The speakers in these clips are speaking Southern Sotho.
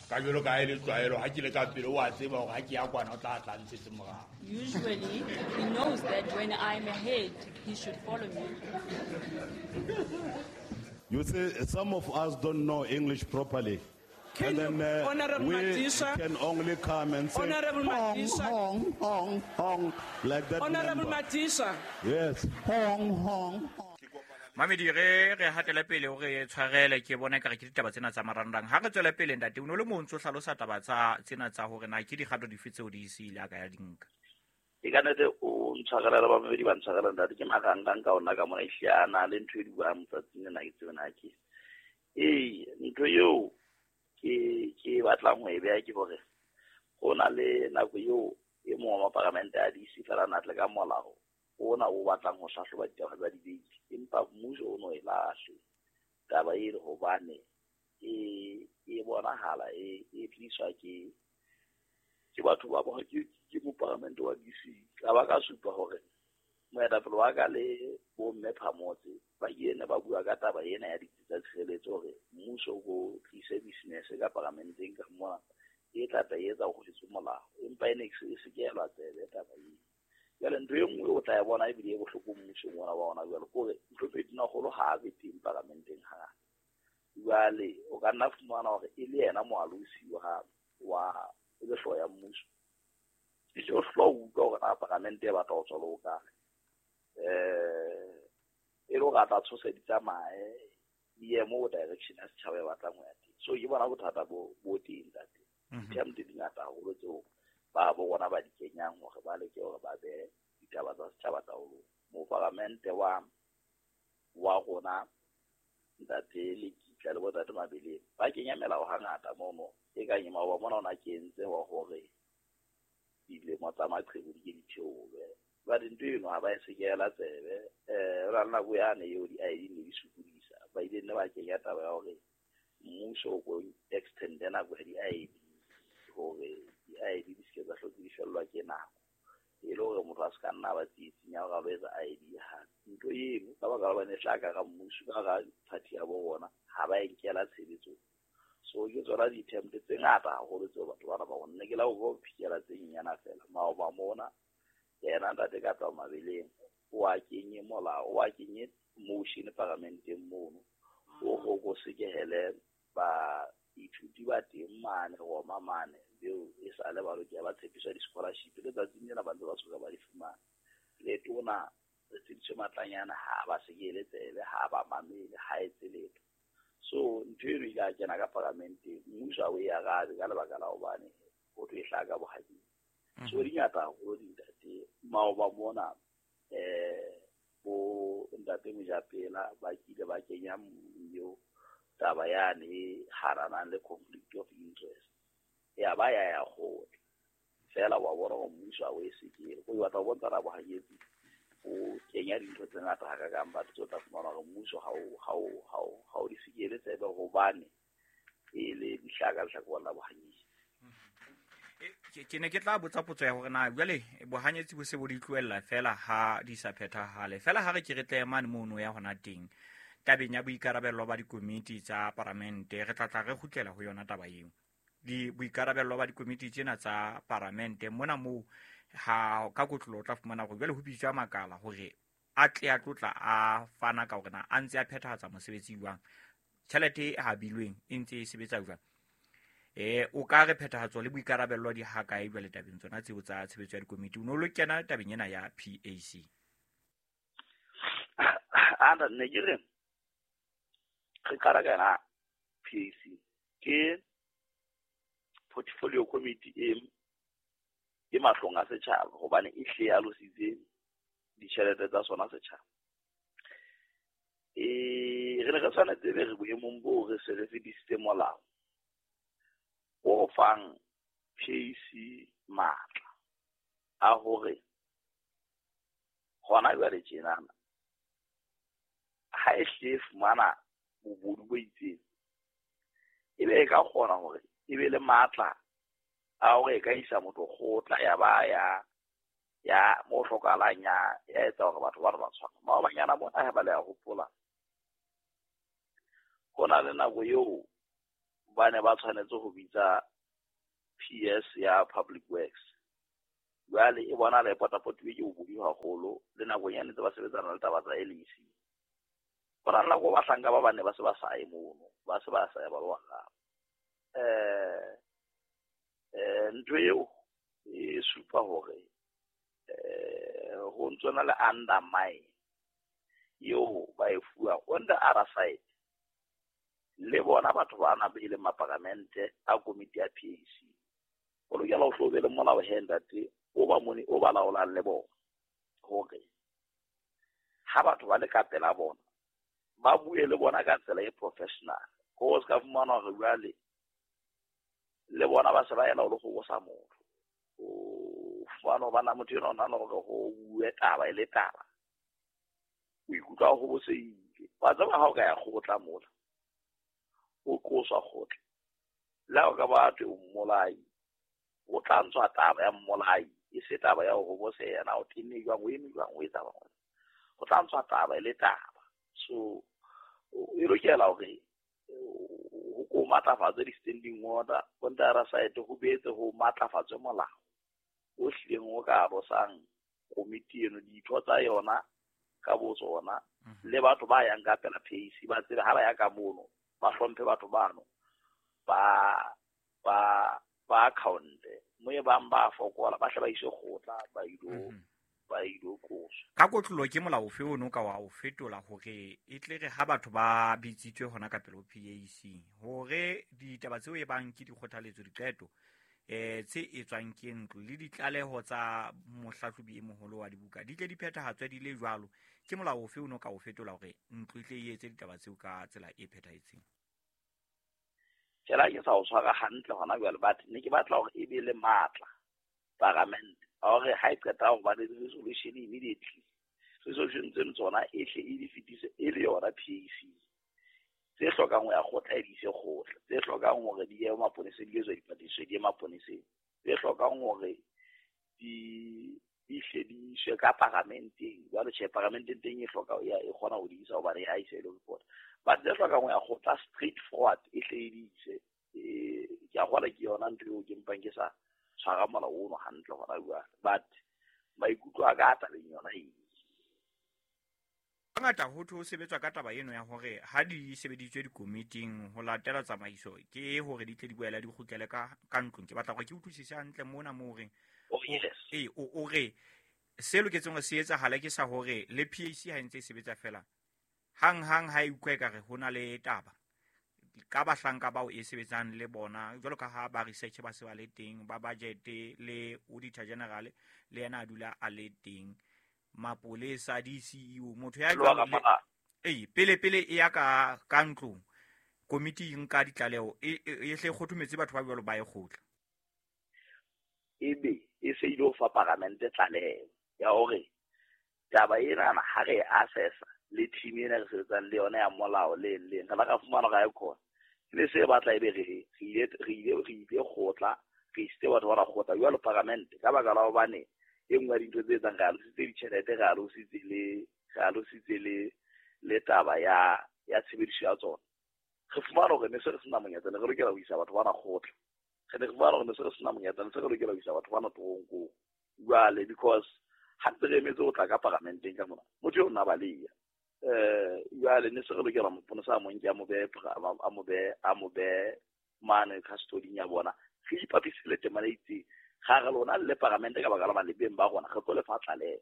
Ka jwalo ka ha e le tlwaelo, ha ke le ka pele o a tseba hore ha ke ya kwana o tla tla ntshetse morao. Usually, he knows that when I'm ahead, he should follow me. You see, some of us don't know English properly. Can And then you, Honorable we Madisha, can only come and say, Honorable hong, Madisha. hong, hong, hong, like that Honorable member. Madisha, Yes, hong, hong, hong. Mamedi, re hatele pele o re tshwarele, ke bona ekare ke ditaba tsena tsa marangrang. Ha re tswele pele, ntate, o no le mo ntso hlalosa taba tsa tsena tsa hore na ke dikgato dife tseo di se ile a ka ya di nka. E ka nnete o ntshwarela le bamamedi ba ntshwarela, ntate, ke marangrang ka ona ka mona, ehlile a na le ntho e buang tsatsing lena, ke tsebe na ke. Ee, ntho eo ke batlang ho e beha ke hore ho na le nako eo e mong wa maparamente a DC fela a na tle ka molao ona o batlang ho hlahloba ditaba tsa dibeili, empa mmuso o no e lahle taba eno hobane e bonahala e tliswa ke batho ba bona, ke moparamente wa DC. Ka ba ka supa hore moetapele wa ka le bomme Phamotse ba ile ne ba bua ka taba ena ya ditsi tsa tshireletso hore mmuso o tlise business ka paramenteng ka mona e tla tla etsa ho tlise molao, empa e ne e se ke elwa tsebe taba eo. Jwale ntho e nngwe o tla e bona ebile e bohloko mmusong ona wa ona jwale, ke hore ntho e Tonakgolo ha a be teng paramenteng hangata. Jwale o ka nna fumana hore e le yena moalosi wa e le hlooho ya mmuso. E le o hlola o utlwa hore na paramente e batla ho tswa le ho kae. E le hore a tla tshosa di tsamaye, di ye moo direction ya setjhaba e batlang ho ya teng. So ke bona bothata bo teng, ntate. Di-term di ngata haholo tseo ba bo bona ba di kenyang hore ba leke hore ba behe ditaba tsa setjhaba taolong. Moparamente wa rona, ntate Lekitla le bontate Mabeleng, ba kenya melao hangata mono. E kang e maoba mona o na kentse wa hore dilemo tsa maqheku di ke di theolwe. Jwale ntho eno ha ba e sekehela tsebe. Ho na le nako yane eo di-I D ne di sokodisa. Ba ile nne ba kenya taba ya hore mmuso o ko extend-e nako ya di-I D hore di-I D di se ke tsa hlotse di fellwa ke nako. E le hore motho a se ka nna ba tsietsing ya hore a lo etsa I D hape. Ntho eno ka baka la hobane e hlaha ka hara mmuso, ka hara party ya bo rona, ha ba e nkela tshebetsong. So ke tsona di-attempt tse ngata haholo tseo batho bana ba rona. Ne ke la ho phikela tse nyenyana feela. Maoba mona, yena ntate ka tloha Mabeleng, o a kenye molao, o a kenye motion paramenteng mono, o ho ko sekehele baithuti ba teng mane Roma mane, beo e sa le ba lokela ba tshepiswa di-scholarship. Letsatsing lena ba ntse ba soka ba di fumana. Le tona re tshediswe matlanyana, ha ba sekehele tsebe, ha ba mamele, ha etse letho. So ntho eno e ile ya kena ka paramenteng, mmuso ha o e arabe ka lebaka la hobane ho thwe e hlaha ka bohading. So di ngata haholo dintate. Maoba mona, bo ntate Mojapela ba kile ba kenya eo taba yane e haranang le conflict of interest. Ya ba ya ya kgotla. Feela wa bona hore mmuso ha o e sekele. O batla ho bontsha ra bohanyetsi o kenya dintho tse ngata hakakang, batho tse o tla fumana hore mmuso ha o di sekele tsebe hobane e le dihlaka lehlakoreng la bohanyetsi. Ke ne ke tla botsa potso ya hore na jwale bohanyetsi bo se bo di tlohella fela ha di sa phethahale. Fela ha re ke re tle mane mono ya hona teng tabeng ya boikarabello ba dikomiti tsa paramente, re tla tla re kgutlela ho yona taba eo. Di boikarabello ba dikomiti tsena tsa paramente mona moo ha ka kotlolo o tla fumana hore jwale ho bitswa makala hore a tle a tlotla a fana ka hore na a ntse a phethahatsa mosebetsi jwang, tjhelete e habilweng e ntse e sebetsa jwang. O ka re phethahatso le boikarabello di ha kae jwale tabeng tsona tseo tsa tshebetso ya dikomiti? O no lo kena tabeng ena ya PAC. Anda, ne ke re re qala ka yona PAC, ke portfolio committee e mahlong a setjhaba hobane e hle alositse ditjhelete tsa sona setjhaba. Re ne re tshwanetse be re boemong boo re se re fetisitse molao o fang PAC matla a hore hona jwale tjenana ha e hle e fumana bobodu bo itseng, e be e ka kgona hore e be le matla a hore e ka isa motho kgotla ya ba ya mo hlokahalang ya etsa hore batho ba re ba tshwana. Maobanyana mona ha ba le a hopola, ho na le nako eo ba ne ba tshwanetse ho bitsa PS ya Public Works. Jwale e bonahala e potapotilwe ke bobodu haholo le nakong ya ntse ba sebetsana le taba tsa LEC. Ho na le nako bahlanka ba bane ba se ba sa ye mono, ba se ba sa ya ba lo araba. Ntho eo e supa hore ho ntso na le undermine eo ba e fuwang. On the other side, le bona batho bana be leng maparamente a komiti ya PAC, o lokela ho hlo be le molao he ntate o ba mone o ba laolang le bona hore ha batho ba le ka pela bona ba bue le bona ka tsela e professional. Ho se ka fumana hore jwale le bona ba se ba ela ho le kgobosa motho. O fumana hore bana motho enwa o nahana hore ho bue taba e le taba, o ikutlwa o kgobosehile. Wa tseba ha o ka ya kgotla mola, o qoswa kgotla, le ha o ka ba thwe o mmolai, o tla ntshwa taba ya mmolai, e se taba ya ho hoboseha na o tenne jwang, o eme jwang, o etsa jwang. Ho tla ntshwa taba e le taba. So e lokela hore ho ko matlafatswe di-standing order, on the other side ho boetse ho matlafatswe molao o hlileng o ka alosang komiti eno, ditho tsa yona ka bo tsona, le batho ba yang ka pela PAC ba tsebe ha ba ya ka mono ba hlomphe batho bano, ba account-e mo e bang ba fokola ba hle ba iswe kgotla ba ilo qoswa. Ka kotlolo ke molao ofe ono ka wa o fetola hore e tle re ha batho ba bitsitswe hona ka pele ho PAC hore ditaba tseo e bang ke dikgothaletso, diqeto tse etswang ke ntlo le ditlaleho tsa mohlahlobi e moholo wa dibuka di tle di phethahatswe di le jwalo, ke molao ofe ono ka o fetola hore ntlo e tle e etse ditaba tseo ka tsela e phethahetseng? Tjela ke sa o tshwara hantle hona jwale, but ne ke batla hore e be le matla paramente hore ha e qeta ho ba le resolution immediately, resolution tseno tsona e hle e di fetise e le yona PAC. Tse hlokang ho ya kgotla e di ise kgotla, tse hlokang hore di ye maponeseng di etswe dipatlisiso di ye maponeseng, tse hlokang hore di hle di iswe ka paramenteng. Jwale tjhe, paramenteng teng e hloka e kgona ho di isa hobane ha e se e le report. But tse hlokang ho ya kgotla straight forward e hle e di ise. Ke a kgolwa ke yona ntho eo ke mpang ke sa tshwara molao ono hantle hona jwale, but maikutlo a ka a tabeng yona eo. Hangata ho thwe ho sebetswa ka taba eno ya hore ha di sebeditswe dikomiting ho latela tsamaiso ke hore di tle di boele di kgutlele ka ntlong. Ke batla hore ke utlwisise hantle mona moo reng. Oh, yes. O re se loketseng hore se etsahale ke sa hore le PAC ha e ntse e sebetsa fela hang hang ha e utlwa ekare ho na le taba ka bahlanka bao e sebetsang le bona, jwalo ka ha ba research ba se ba le teng, ba budget le auditor general le yena a dula a le teng, mapolesa, di-CEO, motho ya jwalo pele pele e ya ka ntlong komiti e nka ditlaleho e hle kgothometse batho ba jwalo ba e kgotla, ebe e se ile ho fa paramente tlaleho ya hore taba ena ha re assessa le team ena re sebetsang le yona ya molao le leng re la ka fumana ga e khona le se batla ebe re ile kgotla, re isitse batho ba ra kgotla jwalo paramente ka baka la hobane e nngwe ya dintho tse etsang re alositse ditjhelete, re alositse le taba ya tshebediso ya tsona. Re fumana hore ne se re sena monyetla, ne re lokela ho isa batho bana kgotla. Re ne re fumana hore ne se re sena monyetla, ne se re lokela ho isa batho bana toronkong. Jwale because ha ntse re emetse ho tla ka paramenteng ka mona, motho eo nna baleya. Jwale ne se re lokela moponesa a monke a mo behe mane custody ya bona. Re ipapise le temana e itseng. Ga re lona le paramente ka baka la malebeng ba rona re tlo le fa tlaleho.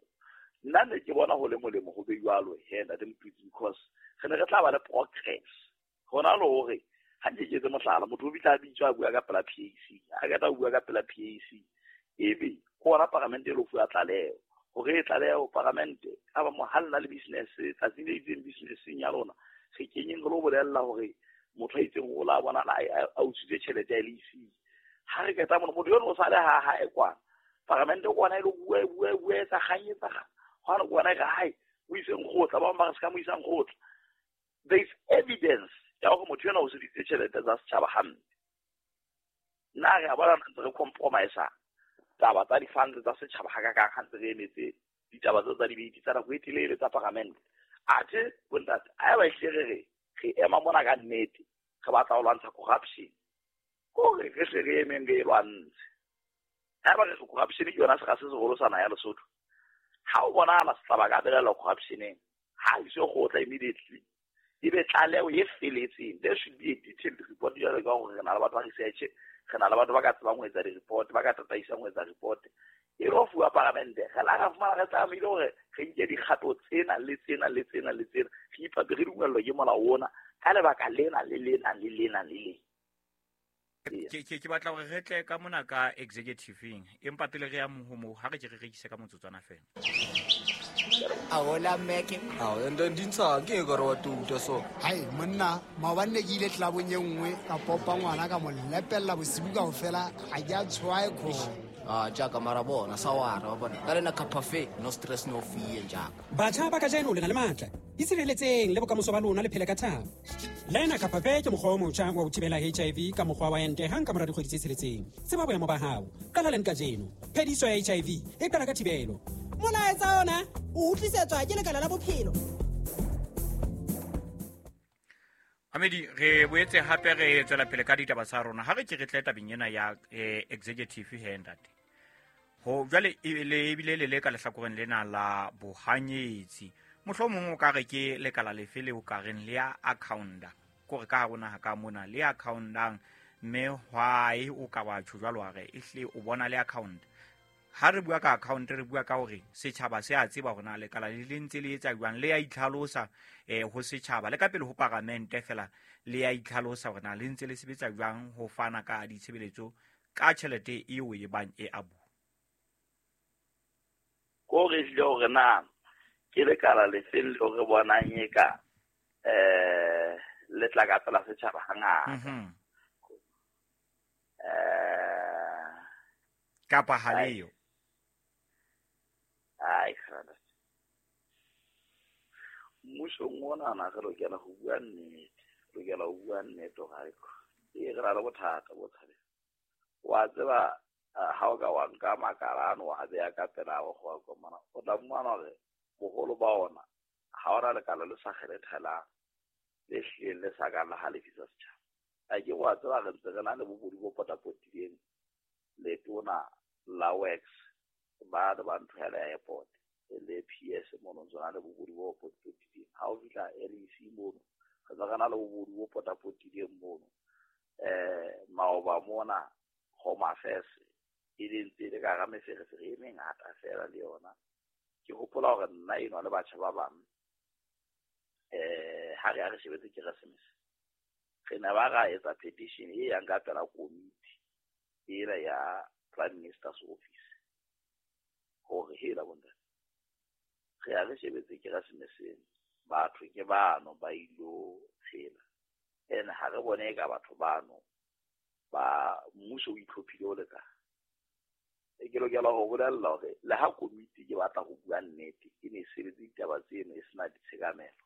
Nna ne ke bona ho le molemo ho be jwalo he ntate Motutsi, because re ne re tla ba le progress. Hona le hore ha nke ke etse mohlala, motho o bitla a bitswa a bua ka pela PAC, a qeta ho bua ka pela PAC, ebe ke hona paramente e lo fuwa tlaleho. Hore e tlaleho paramente ka ba mo ha lena le business tsatsi le itseng businesseng ya lona, re kenyeng re lo bolella hore motho a itseng o la bona a utswitse tjhelete ya LEC. Ha re qeta mona motho eno o sale ha hae kwana, paramente kwana e lo bua etsa kgang etsa kgang. Hona kwana e re hae o iseng kgotla, ba bang ba re se ka mo isang kgotla. There is evidence ya hore motho ena o sebedisitse tjhelete tsa setjhaba hampe. Nna re a bona ntse re compromise taba tsa di-funds tsa setjhaba hakakang ha ntse re emetse ditaba tseo tsa dibete tsa nako e telele tsa paramente. Athe bontate, haeba ehlile re re ema mona ka nnete, re batla ho lwantsha corruption, Kore re hle re emeng re e lwantshe. Haeba re corruption ke yona sera se seholo sa naha ya Lesotho. Ha o bonahala setjhaba ka belaela corruption-eng, ha iswe kgotla immediately. E be tlaleho e feletseng. There should be a detailed report jwalo ka hore re na le batho ba research, re na le batho ba ka tsebang ho etsa di-report, ba ka tataisang ho etsa report. E lo fuwa paramente. Re la ra fumana re tlamehile hore re nke dikgato tsena le tsena le tsena le tsena. Re ipape re dumellwa ke molao ona ka lebaka lena le lena le lena le lena. Ke batla hore re tle ka mona ka executive-eng, empa pele re ya ho moo, ha re ke re rekise ka motsotswana fela. Ahola Meke. Ao, and then dintsha ke ka re wa tuta so. Hai monna, maobane ne ke ile clubong e nngwe ka popa ngwana ka mo lepella bosibu kaofela, ha ke a tshwae khona. Ah, jaaka mara bona sa wara wa bona. Ka lena cafe, no stress no fear jaaka. Batjha ba kajeno le na le matla. Itshireletseng le bokamoso ba lona le phele ka thabo. Lena Cafe ke mokgwa o motjha wa ho thibela HIV ka mokgwa wa ente hang ka mora dikgwedi tse tsheletseng. Tseba boemo ba hao. Qala leng kajeno. Phediso ya HIV e qala ka thibelo. Molaetsa ona o utlwisetswa ke Lekala la Bophelo. Amedi, re boetse hape re tswela pele ka ditaba tsa rona. Ha re ke re tle tabeng ena ya executive he ntate. Ho jwale le ebile le le ka lehlakoreng lena la bohanyetsi. Mohlomong o ka re ke lekala lefe le o ka reng le ya accounta. Kore ka hare ho naha ka mona le accountang, mme why o ka wa tjho jwalo wa re ehle o bona le account. Ha re bua ka account re bua ka hore setjhaba se a tseba hore na lekala le le ntse le etsa jwang, le ya itlhalosa ho setjhaba le ka pele ho paramente fela le ya itlhalosa hore na le ntse le sebetsa jwang ho fana ka ditshebeletso ka tjhelete eo e bang e abu. Ko re hlile hore na ke lekala lefeng leo re bonang e ka le tla ka pela setjhaba hangata. Kapa ha leo. Ai khana. Mmusong ona na re lokela ho bua nnete, lokela ho bua nnete hore e re ra le bothata bo tshabe. Wa tseba ha o ka wa nka makala ano wa beya ka pela go go komana, o tla mmona hore boholo ba ona ha ona lekala le sa kgethelang le hlileng le sa ka la halefisa setjhaba. A ke wa tseba re ntse re na le bobodu bo potapotileng letona la works ba le ba ntho ya airport le PS mono ntse na le bobodu bo potapotileng. Ha o fihla LEC mono re ntse re na le bobodu bo potapotileng mono. Maoba mona Home Affairs e le ntse le ka hara meferefere e mengata fela le yona. Ke hopola hore nna enwa le batjha ba bang ha re ya re shebetse Keresemese, re ne ba ra etsa petition e yang ka pela komiti ena ya Prime Minister's Office hore hela bontate re ya re shebetse Keresemeseng, batho ke bano ba ilo tshela, ene ha re bone ka batho bano ba mmuso o itlhophile o le kae. E ke lokela ho bolella hore le ha komiti ke batla ho bua nnete e ne e sebetse ditaba tseno e sena ditshekamelo.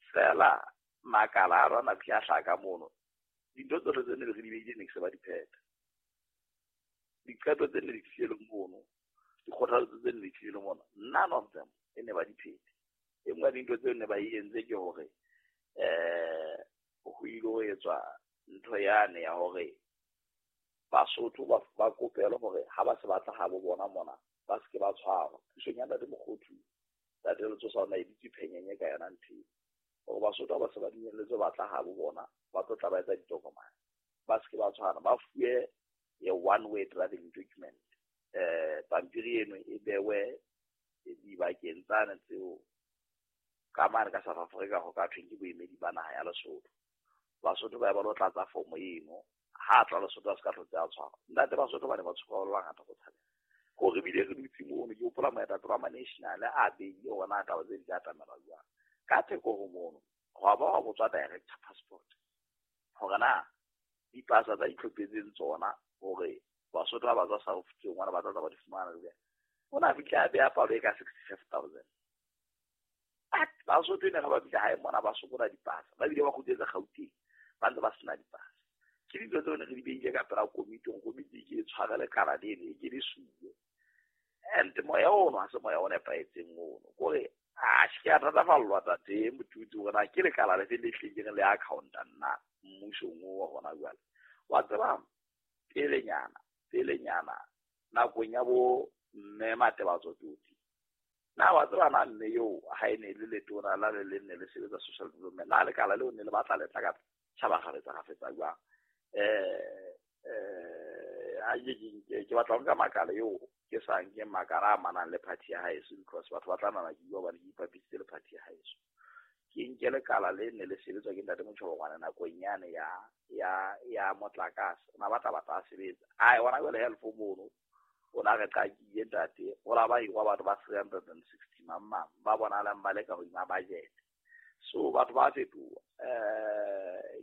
Fela makala a rona ke a hlaka mono, dintho tsohle tse ne re di beile ne ke se ba di phetha. Diqeto tse ne di tlile mono, dikgothaletso tse ne di tlile mono, none of them e ne ba di phethe. E nngwe ya dintho tseo ne ba e entse ke hore ho ile ho etswa ntho yane ya hore Basotho ba kopelwe hore ha ba se batla ha bo bona mona ba se ke ba tshwarwa. Pusong ya Ntate Mokgothu, Ntate Letsosa o na e bitse phenyenye ka yona ntho eo. Hore Basotho ha ba se ba dumelletswe batla ha bo bona, ba tlo tla ba etsa ditokomane. Ba se ke ba tshwana, ba fuwe a one way driving document. Pampiri eno e bewe dibakeng tsane tseo ka mane ka South Africa ho ka thweng ke boemedi ba naha ya Lesotho. Basotho ba ba lo tlatsa fomo eno, ha tla Lesotho a se ka hlotse a tshwarwa. Ntate Basotho ba ne ba tshoka ba le bangata go tshabela. Hore ebile re dutse mono, ke hopola moetapele wa ma-national a beile hore na taba tse di ka atamelwa jwang. Ka theko ho mono, hwa ba wa botswa director passport hore na dipasa tsa itlhophetseng tsona hore Basotho ba ba tswa South Africa ngwana ba tla ba di fumana jwang. O na fihla a beha palo e ka 65,000. But Basotho ne ga ba fihla hae mona ba sokola dipasa, ba bile ba kgutletse Gauteng ba ntse ba sena dipasa. Ke dintho tseo ne re di beile ka pela komiti, hore komiti e ke e tshware lekala leno, e ke le suwe. And moya ono ha se moya o nepahetseng ono. Kore a ke a thatafallwa tate Motutsi hore na ke lekala lefe le hlileng le accounta nna mmusong oo wa hona jwale. Wa tseba pelenyana nakong ya bo mme Matebatso Toti, na wa tseba na mme eo ha e ne le letona la le le ne le sebetsa social development, na lekala leo ne le batla le tla ka tjhaba kgafetsa jwang? Ke batla ho nka makala eo ke sa nke makala a amanang le party ya haeso, because batho ba tla nahana ke bua hobane ke ipapisitse le party ya haeso. Ke nke lekala le ne le sebetswa ke ntate Motjhobongwane nakong yane ya motlakase, o na batla a sebetsa. Ai hona jwale health mono o na re qakile ntate, o la ba hirwa batho ba 360 mang ba bonahalang ba le ka hodima budget. So batho ba fetoha.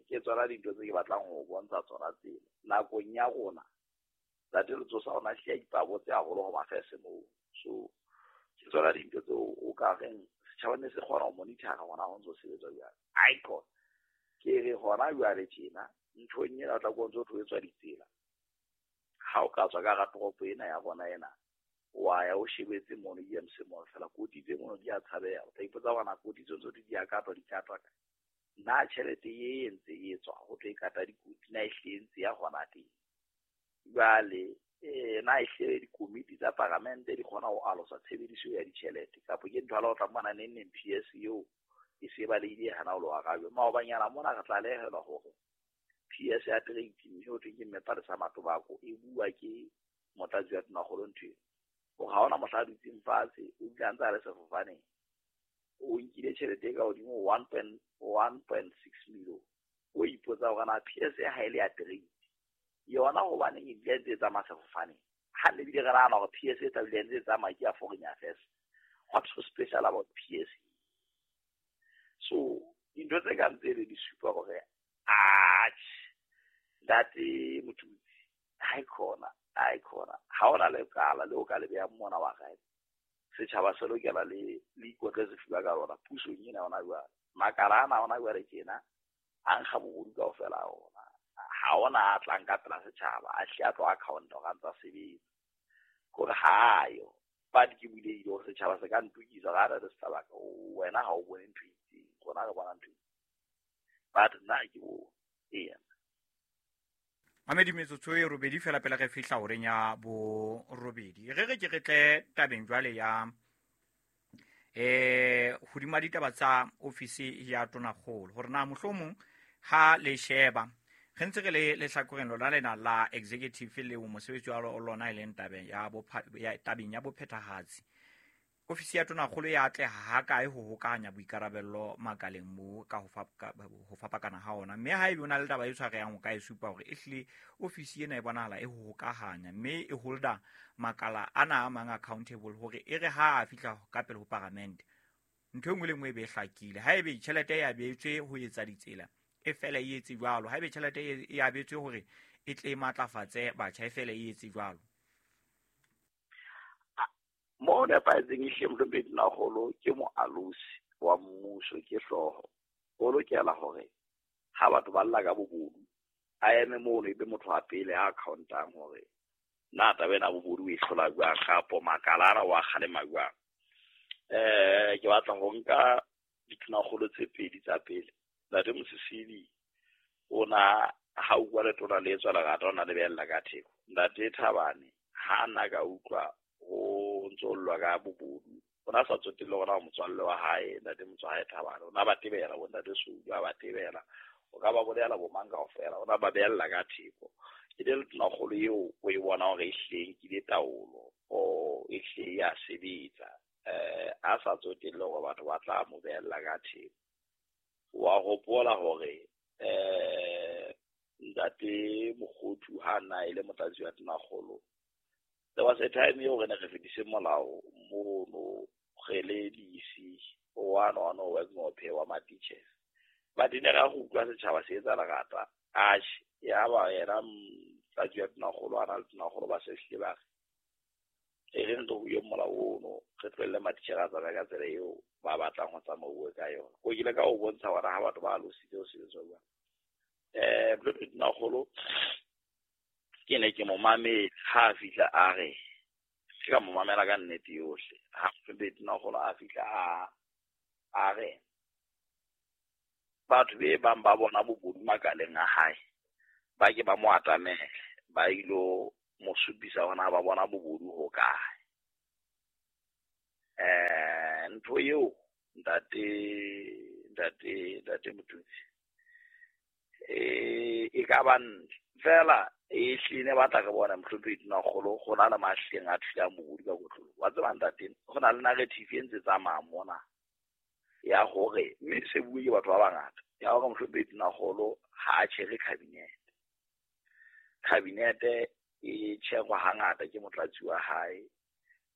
Ke tsona dintho tse ke batlang ho bontsha tsona tsena. Nakong ya rona ntate Letsosa o na hlile a ipabotse haholo ho mafese moo. So ke tsona dintho tseo o ka reng setjhaba ne se kgona ho monitor-a hona ho ntso sebetswa jwang. Icon ke re hona jwale tjena nthong ena o tla ko ntso ho etswa ditsela. Ha o ka tswa ka hara toropo ena ya rona ena, wa ya o shebetse mono EMC mono fela, koti tse mono di a tshabeha. O tla ipotsa hore na koti tseo tsohle di a katwa, di katwa kae. Na tjhelete e ntse e tswa ho tlo e kata dikoti, na ehlile e ntse ya hona teng? Jwale na ehlile dikomiti tsa paramente di kgona ho alosa tshebediso ya ditjhelete, kapa ke ntho ya o tla bona neng neng PS eo e se balehile hana ho lo arabjwa. Maobanyana mona re tlalehelwa hore PS ya trade mme ho thwe ke mme Palesa Matobako e bua ke motlatsi wa Tonakgolo ntho eno, hore ha hona mohla a dutseng fatshe, o bile a ntse a le sefofaneng, o nkile tjhelete e ka hodimo 1.6 million. O ipotsa hore na PS ha e le ya trade yona hobaneng e bile ntse e tsamaya sefofaneng, ha ne bile re nahana hore PS e tla bile ntse e tsamaya ke ya foreign affairs. What's so special about PS? So dintho tse kang tsele di supa hore atjhe ntate Motutsi ha e khona ha ona lekala le o ka le behang mona wa gae. Setjhaba se lokela le ikotle sefuba ka lona pusong ena hona jwale. Makala ana hona jwale tjena a nkga bobodu kaofela a ona. Ha ona a tlang ka pela setjhaba a hle a tlo account hore a ntsa sebetsa, kore ha yo. But ke bulehile hore setjhaba se ka ntokisa ga re se tlabaka wena ha o bone ntho e itseng, rona re bona ntho e itseng. But nna ke bo eya. Mamedi metsotso e robedi fela pele re fihla horeng ya borobedi. Re re ke re tle tabeng jwale ya hodima ditaba tsa ofisi ya Tonakgolo, hore na mohlomong ha le sheba re ntse re le lehlakoreng lona lena la executive leo mosebetsi wa lona e leng tabeng ya bophethahatsi, ofisi ya Tonakgolo ya atleha hakae ho hokahanya boikarabello makaleng moo ka ho fapakana ha ona, mme ha ebe o na le taba e tshwarehang o ka e supa hore ehlile ofisi ena e bonahala e ho hokahanya mme e holda makala ana a mang accountable hore e re ha a fihla ka pele ho paramente ntho e nngwe le nngwe e be e hlakile. Ha ebe tjhelete e abetswe ho etsa ditsela e fela e etse jwalo, ha ebe tjhelete e abetswe hore e tle e matlafatse batjha e fela e etse jwalo. Mo nepahetseng ehlile mohlomphehi Tonakgolo ke moalosi wa mmuso, ke hlooho. O lokela hore ha batho ba lla ka bobodu a eme mono, ebe motho wa pele a accountang hore na taba ena bobodu e hlola jwang, kapo makala ana wa kgalema jwang. Ke batla ho nka ditonakgolo tse pedi tsa pele. Ntate Mosisili o na ha utlwa letona le etswa lerata, o na lebella ka theko. Ntate Thabane ha na ka utlwa ho ntso llwa ka bobodu, o na sa tsotelle hore na motswalle wa hae ntate Motswahae Thabane o na ba tebela, bo ntate Soudu a ba tebela, o ka ba bolela bo mang kaofela, o na ba behella ka theko. E le tonakgolo eo o e bona hore ehlile e nkile taolo, o ehlile ya sebetsa, a sa tsotelle hore batho ba tla mo behella ka theko. Wa hopola hore ntate Mokgothu ha na e le motlatsi wa Tonakgolo, there was a time eo re ne re fetise molao mono re le DC one one wa Ngophe wa matitjhere, but ne ra go utlwa setjhaba se etsa lerata. Atjhe, ya ba yena motlatsi wa Tonakgolo a na le Tonakgolo ba se hlile ba re e re ntlo ho molao ono re tlohelle matitjhere a tsamaya ka tsela eo ba batlang ho tsamauwe ka yona. Ko kile ka o bontsha hore ha batho ba alositse ho sebetswa jwang. Mohlomphehi Tonakgolo ke ne ke mo mametse ha a fihla a re, ke ka mo mamela ka nnete yohle. Ha mohlomphehi Tonakgolo a fihla a re batho be bang ba bona bobodu makaleng a hae Ba ke ba mo atamele, ba ilo mo supisa hore na ba bona bobodu ho kae. Ntho eo ntate Motutsi e ka ba ntle fela e hlile batla re bona mohlomphehi Tonakgolo go na le mahleng a thulang bobodu ka kotlolo. Wa tseba ntate, go na le narrative e ntse tsamaya mona ya hore mme se bue ke batho ba bangata ya hore mohlomphehi Tonakgolo ha a tjhere cabinet. Cabinet e tjherwa hangata ke motlatsi wa hae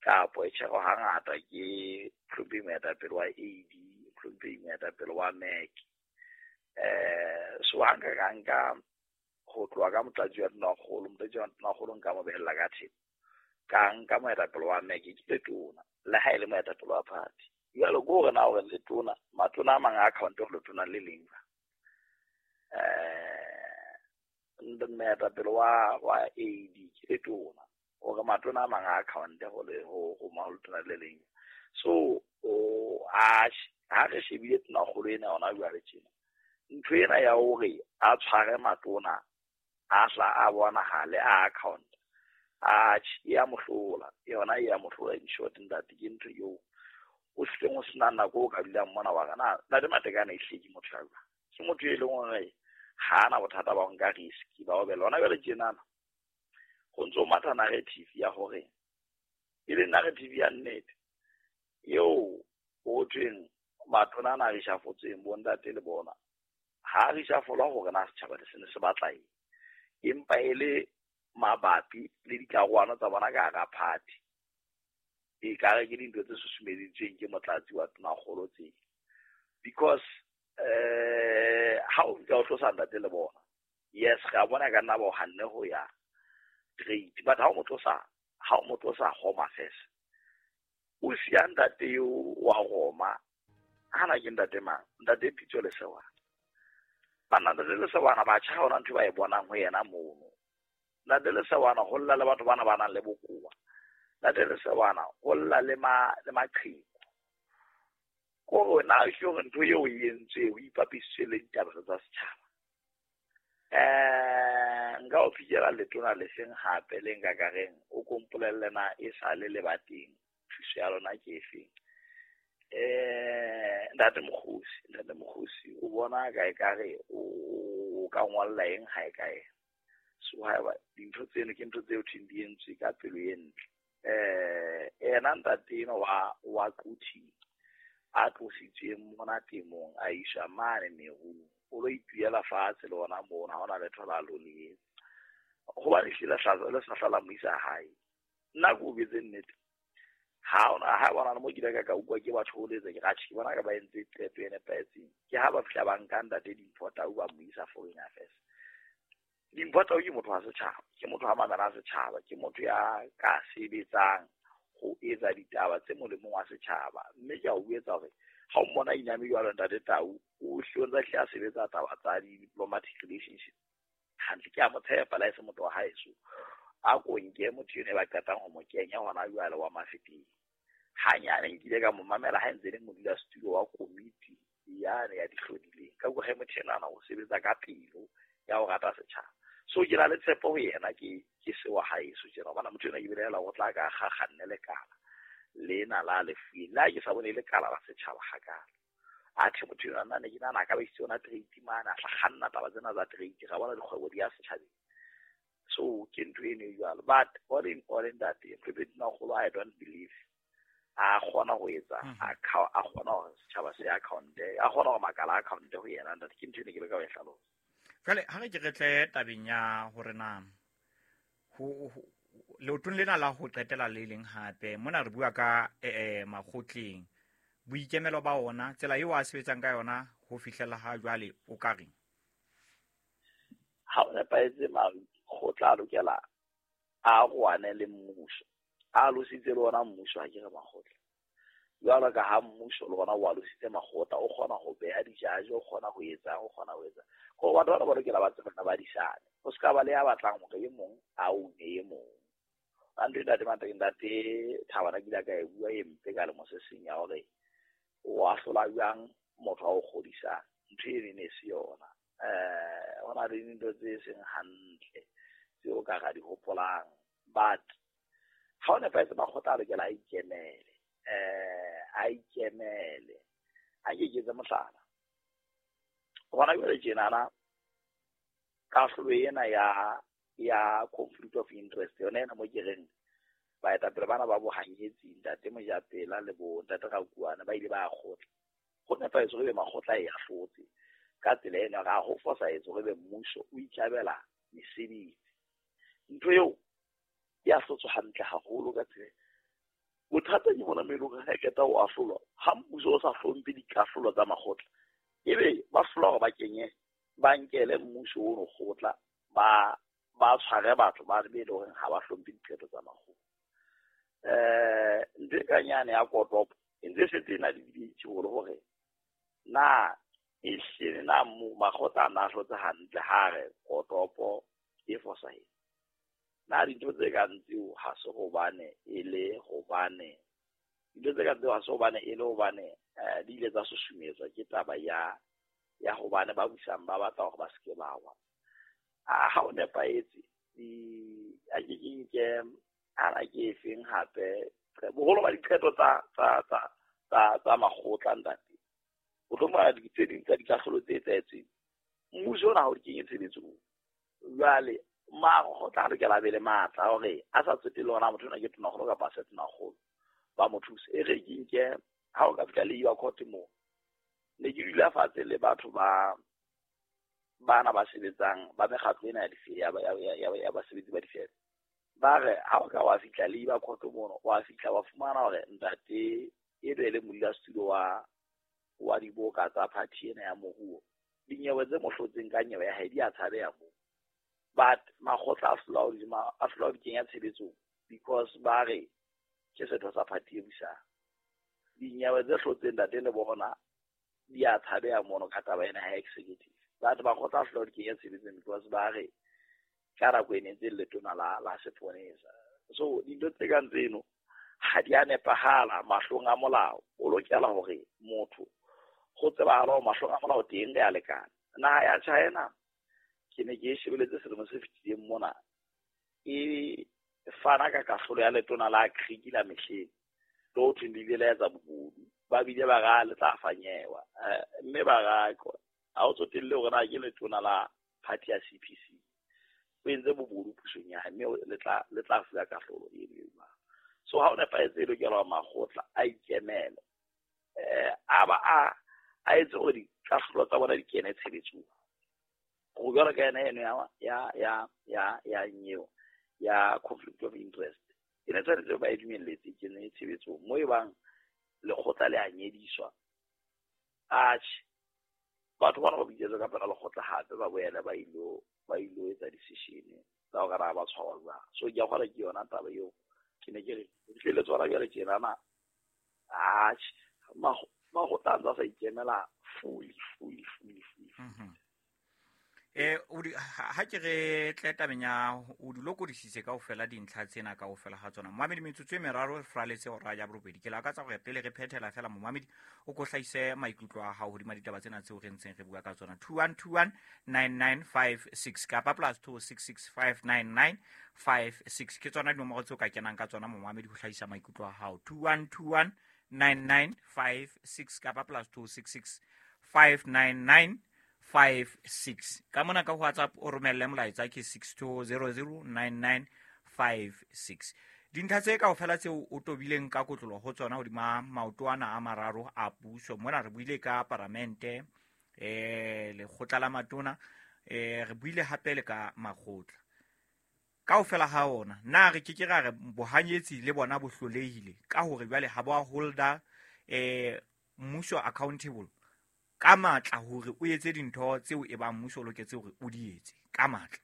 kapo e tjherwa hangata ke mohlomphehi moetapele wa AD, mohlomphehi moetapele wa MEC. So ha nka ka nka ho tloha ka motlatsi wa Tonakgolo, nka mo behella ka thepo. Ka nka moetapele wa MEC ke letona, le ha e le moetapele wa party. Jwale ke hore na hore letona, matona a mang a account ho letona le leng. Moetapele wa AD ke letona, hore matona a mang a account ho letona le leng. So ha re shebile Tonakgolo ena hona jwale tjena, ntho ena ya hore a tshware matona a hla a bonahale a account, atjhe e ya mohlola, yona e ya mohlola. In short ntate, ke ntho eo o hlileng o sena nako o ka dulang mona wa re na ntate Matekane ehlile ke motho ya jwang. Ke motho e leng hore ha ana bothata ba ho nka risk ba ho bela. Hona jwale tjenana ho ntso matha narrative ya hore e le narrative ya nnete eo ho thweng matona ana a reshafotsweng bo ntate le bona ha reshafolwa hore na setjhaba se ne se batla eng, empa e le mabapi le ditlaroano tsa bona ka hara party. E kare ke dintho tse susumeditsweng ke motlatsi wa Tonakgolo tse. Because ha o fihla o tlosa ntate le bona, yes re a bona ka nna ba o hanne ho ya trade, but ha o mo tlosa Home Affairs, o siya ntate eo wa Roma. Hana ke ntate mang? Ntate Pitso Lesewana. Banna ntate Lesewana batjha ha hona ntho ba e bonang ho yena mono. Ntate Lesewana ho lla le batho bana ba nang le bokowa. Ntate Lesewana ho lla le maqheku. Kore na ke hore ntho eo e entswe ho ipapisitswe le ditaba tsa setjhaba. Nka o fikela letona le seng hape le nka ka reng o kompolelle na e sale le ba teng, thuso ya lona ke efeng. Ntate Mokgosi o bona ka ekare o ka ngolla eng ha e kae. So haeba dintho tseno ke ntho tseo thweng di entswe ka pelo e ntle. Ena ntate eno wa Quthing a tlositsweng mona temong a iswa mane merung, o lo ituela fatshe le ona mona, ha hona letho la lo le etsa. Hobane ehlile le sa hlala mo isa hae. Nna ke o betse nnete. Ha ona ha bona le mo ke ile ka utlwa ke batho ho letsa ke ratjhe, ke bona ka ba entse qeto e nepahetseng. Ke ha ba fihla ba nka ntate Dimpho Tau ba mo isa Foreign Affairs. Dimpho Tau ke motho wa setjhaba, ke motho wa mamela setjhaba, ke motho ya ka sebetsang ho etsa ditaba tse molemong wa setjhaba. Mme ke a o etsa hore ha o mmona iname jwalo ntate Tau, o hlile ntse a sebetsa taba tsa di-diplomatic relationship hantle. Ke a mo tshepa le ha e se motho wa haeso. A ko nke motho eno e ba qetang ho mo kenya hona jwale wa Mafeteng. Hanyane nkile ka mo mamela ha ntse le modulasetulo wa komiti yane ya dihlodileng. Ka utlwa he motho enwana o sebetsa ka pelo ya ho rata setjhaba. So ke na le tshepo ho yena, ke se wa haeso tjena, hobane motho ena ke belaela o tla ka kganne lekala lena la lefueng le ha ke sa bone lekala la setjhaba hakalo. Atjhe motho enwa nna ne ke nahana a ka ba isitse yona trade mane, a tla kganna taba tsena tsa trade, ra bona dikgwebo di ya setjhabeng. So ke ntho eno e jwalo. But all in all ntate Mphephe Tonakgolo, I don't believe a kgona ho etsa a kgona hore setjhaba se account-e, a kgona hore makala a account-e ho yena ntate. Ke ntho eno ke leka ho e hlalosa. Jwale ha re ke re tle tabeng ya hore na ho leotong lena la ho qetela le leng hape mona re bua ka makgotleng, boikemelo ba ona, tsela eo a sebetsang ka yona ho fihlela ha jwale, o ka reng? Ha o nepahetse, makgotla a lokela a roane le mmuso, a lositse le ona mmuso, ha ke re makgotla. Jwalo ka ha mmuso le ona o alositse makgotla, o kgona ho beha dijaje, o kgona ho etsa, o kgona ho etsa. Hore batho bana ba lokela ba tsebana ba disane. Ho se ka ba le ya batlang hore e mong a une e mong. Ka ntho e ntate Mateng, ntate Thabana ke ile ka e bua e mpe ka lemo se seng ya hore o ahlola jwang motho a o kgodisang. Ntho eno e ne se yona. Ho na le dintho tse seng hantle tseo ka ra di hopolang, but ha o nepahetse makgotla a lokela a ikemele, a ikemele. A ke ke etse mohlala gona jwale tjenana, kahlolo ena ya conflict of interest yona ena mo ke reng baetapele bana ba bohanyetsi ntate Mojapela le bo ntate Rakuana ba ile ba kgotla. Ho nepahetse hore ebe makgotla e ahlotse ka tsela ena, ga ho fosahetse hore ebe mmuso o ikabela mesebetsi. Ntho eo e ahlotswe hantle haholo ka tsela. Bothata ke bona mo e leng hore ha e qeta ho ahlolwa, ha mmuso o sa hlomphe dikahlolo tsa makgotla, ebe ba hlola hore ba kenye ba nkele mmuso ono kgotla, ba tshware batho ba be le horeng ha ba hlomphe diqeto tsa makgotla. Ntho e kang yane ya kotopo e ntse e setse e na le dibetsi hore na e hlile na makgotla a na ahlotse hantle ha re kotopo e fosahetse. Na dintho tse kang tseo ha se hobane e le hobane dintho tse kang tseo ha se hobane e le hobane di ile tsa susumetswa ke taba ya hobane ba busang ba batla hore ba se ke ba wa. Ha o nepahetse di a ke ke nke ana ke efeng hape boholo ba diqeto tsa makgotla ntate. O tlo fumana tse ding tsa dikahlolo tse etsahetseng mmuso ona ha o di kenye tshebetsong. Jwale makgotla a lokela a be le matla a hore a sa tsotelle hore na motho ona ke tonakgolo kapa ha se tonakgolo, ba mo thuse. E re ke nke ha o ka fihla Labour Court moo, ne ke dula fatshe le batho ba bana ba sebetsang ba mekgatlo ena ya basebetsi ba difeme. Ba re ha o ka wa fihla Labour Court mono, wa fihla wa fumana hore ntate e be le modulasetulo wa diboka tsa party ena ya moruo, dinyewe tse mo hlotseng ka nyewe ya hae di a tshabeha moo. But makgotla a hlola ho di kenya tshebetsong because ba re ke setho sa party e busang. Dinyewe tse hlotseng ntate le bona di a tshabeha mono ka taba ena ya executive. But makgotla a hlola ho di kenya tshebetsong because ba re ka nako e ne ntse le letona la seponesa. So dintho tse kang tseno ha di a nepahala mahlong a molao. O lokela hore motho go tsebahala hore mahlong a molao teng re a lekana. Naha ya China ke ne ke e shebeletse selemo se fetileng mona, e fana ka kahlolo ya letona la Greek la mehleng le ho thweng le ile la etsa bobodu, ba bile ba ra le tla fanyewa, mme ba ra ha o tsotelle hore na ke letona la party ya CPC, o entse bobodu pusong ya hae, mme le tla fuwa kahlolo eno e jwalo. So ha o nepahetse e lokela hore makgotla a ikemele, a ba a etse hore dikahlolo tsa bona di kene tshebetsong. Go jwalo ka yena eno ya nyeo ya conflict of interest e ne tshwanetse ba e dumelletse e kene tshebetsong mo e bang lekgotla le a nyediswa. Atjhe, batho bana ba bitsetswa ka pela lekgotla hape ba boele ba ilo etsa decision tsa hore na ba tshwarwa jwang. So ke a kgolwa ke yona taba eo ke ne ke re re tswala jwale tjenana. Atjhe, makgotla a ntse a sa ikemela fully. Ha ke re tle tabeng ya o di lokodisitse kaofela dintlha tsena kaofela ha tsona. Momamedi, metsotso e meraro re fraletse hora ya borobedi. Ke lakatsa hore pele re phethela fela momamedi o ko hlahise maikutlo a hao hodima ditaba tsena tseo re ntseng re bua ka tsona. 2121 9956 kapa +266 59956 ke tsona dinomoro tseo ka kenang ka tsona momamedi ho hlahisa maikutlo a hao. 2121 9956 kapa +266 59956. Ka mona ka WhatsApp o romelle molaetsa ke 62009956. Dintlha tse kaofela tseo o tobileng ka kotlolo ho tsona hodima maoto ana a mararo a puso. Mona re buile ka paramente, lekgotla la matona, re buile hape le ka makgotla. Kaofela ha ona, na re ke ke ra re bohanyetsi le bona bo hlolehile ka hore jwale ha bo a holda mmuso accountable ka matla hore o etse dintho tseo e bang mmuso o loketse hore o di etse ka matla.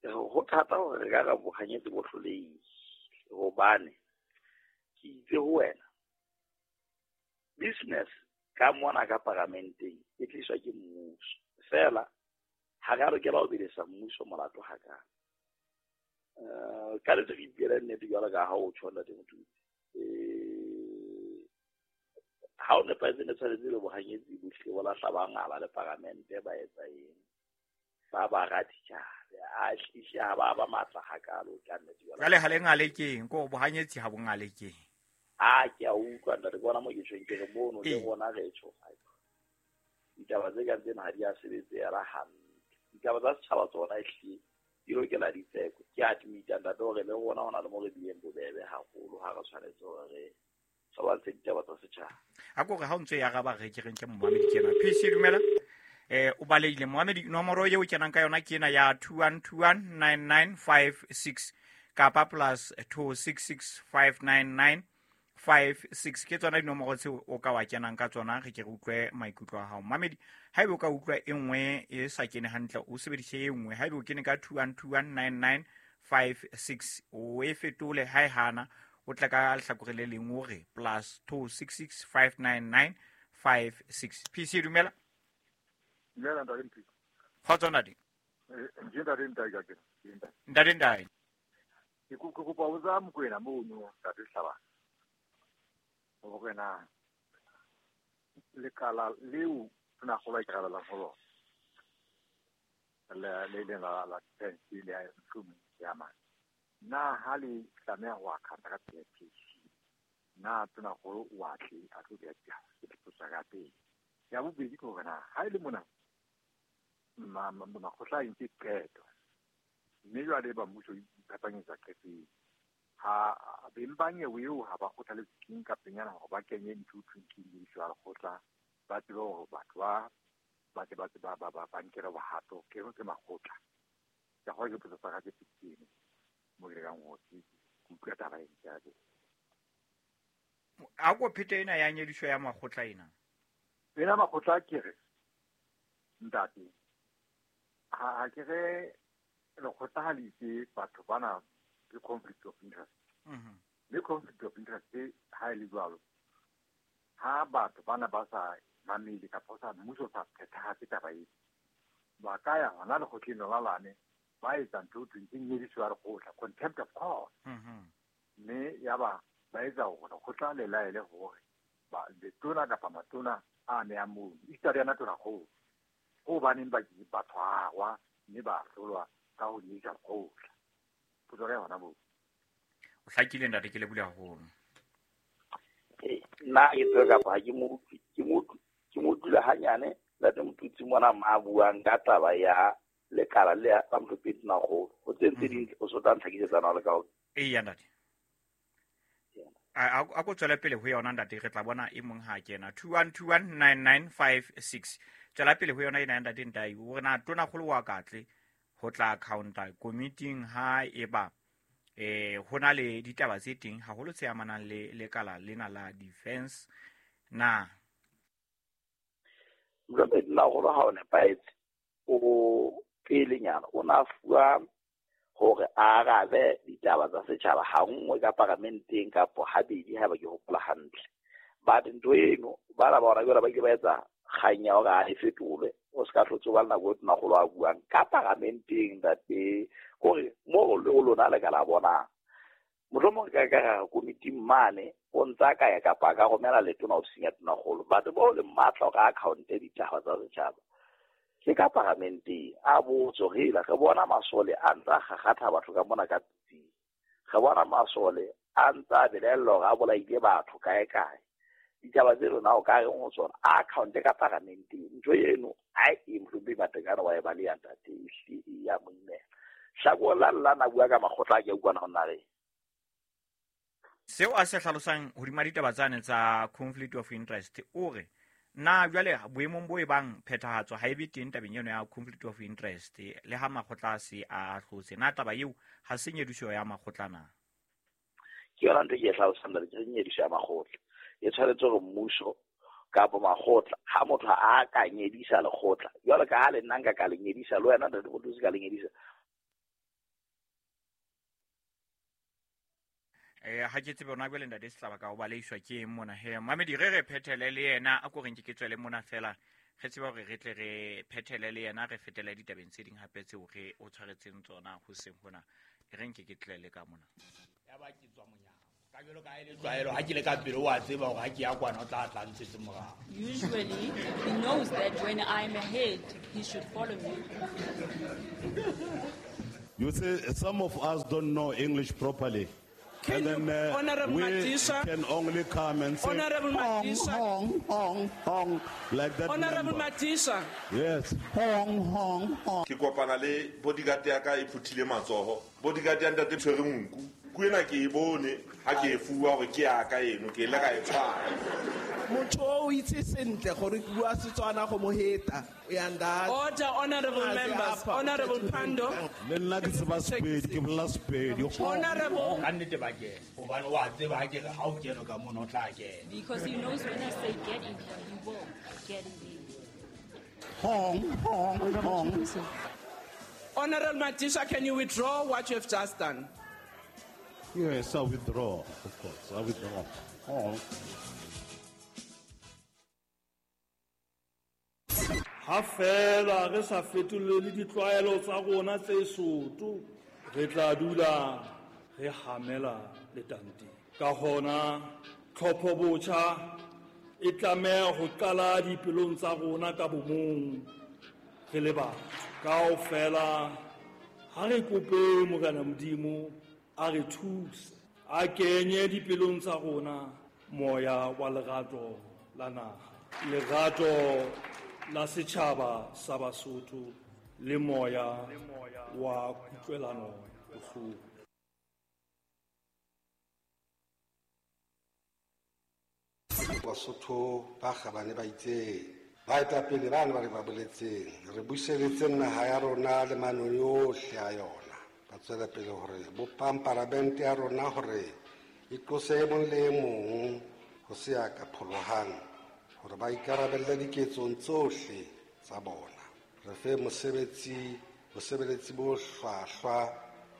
Ho thata hore re ka re bohanyetsi bo hlolehile hobane ke itse ho wena business ka mona ka paramenteng e tliswa ke mmuso. Fela ha re a lokela ho belesa mmuso molato hakana. Ka letse re ipuela nnete jwalo ka ha o tjho ntate Motutsi. Ha o nepahetse ne tshwanetse le bohanyetsi bohle bo lahla ba ngala le paramente ba etsa eng. Ba ba raditjhabe a hlile ha ba ba matla hakalo ka nnete jwale. Jwale ha le ngale keng ko bohanyetsi ha bo ngale keng. A ke a utlwa ntate bona mo ke tjhong ke re mono le rona re tjho. Ditaba tse kang tsena ha di a sebetseha hantle. Ditaba tsa setjhaba tsona ehlile di lokela ditseko. Ke admit-a ntate hore le rona hona le mo re bileng bobebe haholo ha re tshwanetse hore re lwantshe ditaba tsa setjhaba. A ko re ha o ntse ya araba re ke reng ke momamedi kena. PC dumela. O balehile momamedi nomoro eo kenang ka yona ke ena ya 21219956 kapa plus 26659956 ke tsona dinomoro tseo o ka wa kenang ka tsona re ke re utlwe maikutlo a hao. Mamedi haebe o ka utlwa e nngwe e sa kene hantle o sebedise e nngwe. Haebe o kene ka 21219956 o e fetole ha e hana o tla ka lehlakore le leng o re plus 26659956. PC dumela. Dumela ntate Mpho. Kgotso ntate. Ke ntate Ntai ka kena. Ntate Ntai. Ke kopa ho botsa Mokoena mono ntate Hlabane. Hore na lekala leo tonakgolo a ikarabellang ho lona le leng la defense le ya mohlomong ya mane. Na ha le tlameha ho account ka PPC na tonakgolo o a tle a tlo beha ke dipotso ka pele. Ya bobedi ke hore na ha e le mona makgotla a entse qeto mme jwale ba mmuso iphapanyetsa qeto eo. Ha beng ba nyewe eo ha ba kgothaletswe keng ka penyana hore ba kenye ntho ho thweng ke nyediso ya lekgotla ba tsebe hore batho ba tle ba ba nkelwe bohato ke makgotla. Ke kgolwa ke potso tsa ka tse pedi tseno mo ke lekang hore ke utlwe taba ena ke a leboha. A ko phete ena ya nyediso ya makgotla ena. Ena makgotla ke re ntate ha ke re lekgotla ha le itse batho bana ke conflict of interest. Le conflict of interest ha e le jwalo ha batho bana ba sa mamele kapa sa mmuso sa phethahatse taba eo ba ka ya hona lekgotleng lona lane ba etsa ntho ho thweng ke nyediso ya lekgotla, contempt of court. Mme ya ba ba etsa hore lekgotla le laele hore letona kapa matona a amehang mono esita le yona tonakgolo hobaneng ba tshwarwa mme ba ahlolwa ka ho nyedisa lekgotla. Potso ka yona moo. O hlakile ntate ke lebohile haholo. Nna ke tsebe kapa ha ke mo utlwile hanyane ntate Motutsi mona ma buang ka taba ya lekala le la mohlopedi tonakgolo. Ho tse ntse ding o so tla ntlhakisetsa na le ka hore. Eya ntate. A ko tswele pele ho yona ntate re tla bona e mong ha kena 21219956. Tswela pele ho yona ena ya ntate Ntai hore na tonakgolo wa katle ho tla accounta committing ha eba ho na le ditaba tse teng haholo tse amanang le lekala lena la defense na. Mohlopedi tonakgolo ha o nepahetse o pelenyana o na fuwa hore a arabe ditaba tsa setjhaba ha nngwe ka paramenteng kapo habedi haeba ke hopola hantle. But ntho eno bana ba hona jwale ba ile ba etsa kgang ya hore a e fetolwe o se ka hlotse ba le nako e tonakgolo a buang ka paramenteng ntate kore mo le ho lona le ka la bonang. Mohlomong ka ka komiting mane o ntsa ka ya kapa ka romela letona ofising ya tonakgolo. Batho bao le matla hore a account-e ditaba tsa setjhaba ke ka paramenteng a botso re re bona masole a ntsa kgakgatha batho ka mona ka pitsing. Re bona masole a ntsa belaellwa hore a bolaile batho kae kae. Ditaba tse rona o ka reng ho tsona a account-e ka paramenteng. Ntho eno ha e mohlomong Matekane wa e baleha ntate ehlile e ya mo imela. Hlakoreng la nna bua ka makgotla a ke a utlwana ho nna reng. Seo a se hlalosang hodima ditaba tsane tsa conflict of interest o re na jwale boemong bo e bang phethahatso ha e be teng tabeng eno ya conflict of interest le ha makgotla a se a hlotse na taba eo ha se nyediso ya makgotla na. Ke yona ntho e ke e hlalosang ntate, ke nyediso ya makgotla. E tshwanetse hore mmuso kapa makgotla ha motho a ka nyedisa lekgotla jwalo ka ha le nna nka ka le nyedisa le wena ntate Motutsi ka le nyedisa. Ha ke tsebe hona jwale ntate Sehlaba ka ho baleiswa ke eng mona he. Mamedi re re phethele le yena a ko reng ke tswele mona fela re tsebe hore re tle re phethele le yena re fetele ditabeng tse ding hape tseo re o tshwaretseng tsona hoseng hona. E re nke ke tlele ka mona. Ya ba ke tswa monyako. Ka Tlwaelo ha ke le ka pele o a tseba hore ha ke ya kwana o tla tla ntshetse morao. Usually, he knows that when I'm ahead, he should follow me. You see, some of us don't know English properly. Can and then Honorable we Madisha, can only come and say, Honorable hong, Madisha. hong, hong, hong, like that. Honorable member. Madisha. Yes. Hong, hong, hong. Ke kopana le bodyguard ya ka e phuthile matsoho. Bodyguard ya ntate tshwere nku. Ku ena ke e bone ha ke e fuwa hore ke ya ka eno, ke ile ka e tshwara. Motho o itse sentle gore ke bua Setswana go mo heta. Order, honorable members. Honorable Pando. Le nna ke tseba Sepedi, ke bolela Sepedi. Honorable. Ka nnete ba kena. Hobane o a tseba ha ke re ha o kene ka mono o tla kena. Because he knows when I say get in here, he will get in there. Hong, hong, hong. Honorable Madisha, can you withdraw what you have just done? Yes, I withdraw, of course. I withdraw. Hong. Ha fela re sa fetolele ditlwaelo tsa rona tse soto, re tla dula re hamela letanteng. Ka hona, tlhopho botjha e tlameha ho qala dipelong tsa rona ka bomong re le batho. Kaofela ha re kope Morena Modimo a re thuse, a kenye dipelong tsa rona moya wa lerato la naha, lerato la setjhaba sa Basotho le moya wa kutlwelano bohloko. Basotho ba kgabane ba itseng, baetapele ba ne ba re ba boletseng, re buseletse naha ya rona le manong yohle a yona. Ba tswela pele hore bopang palamente ya rona hore e tlose e mong le e mong ho se ya ka pholohang, hore ba ikarabelle diketsong tsohle tsa bona. Re fe bosebeletsi bo hlwahlwa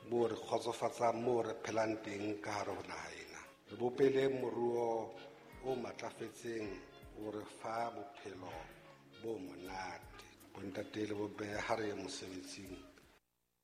bo re kgotsofatsang moo re phelang teng ka hare ho naha ena. Re bopele moruo o matlafetseng o re fa bophelo bo monate. Bontate le bomme ha re ye mosebetsing,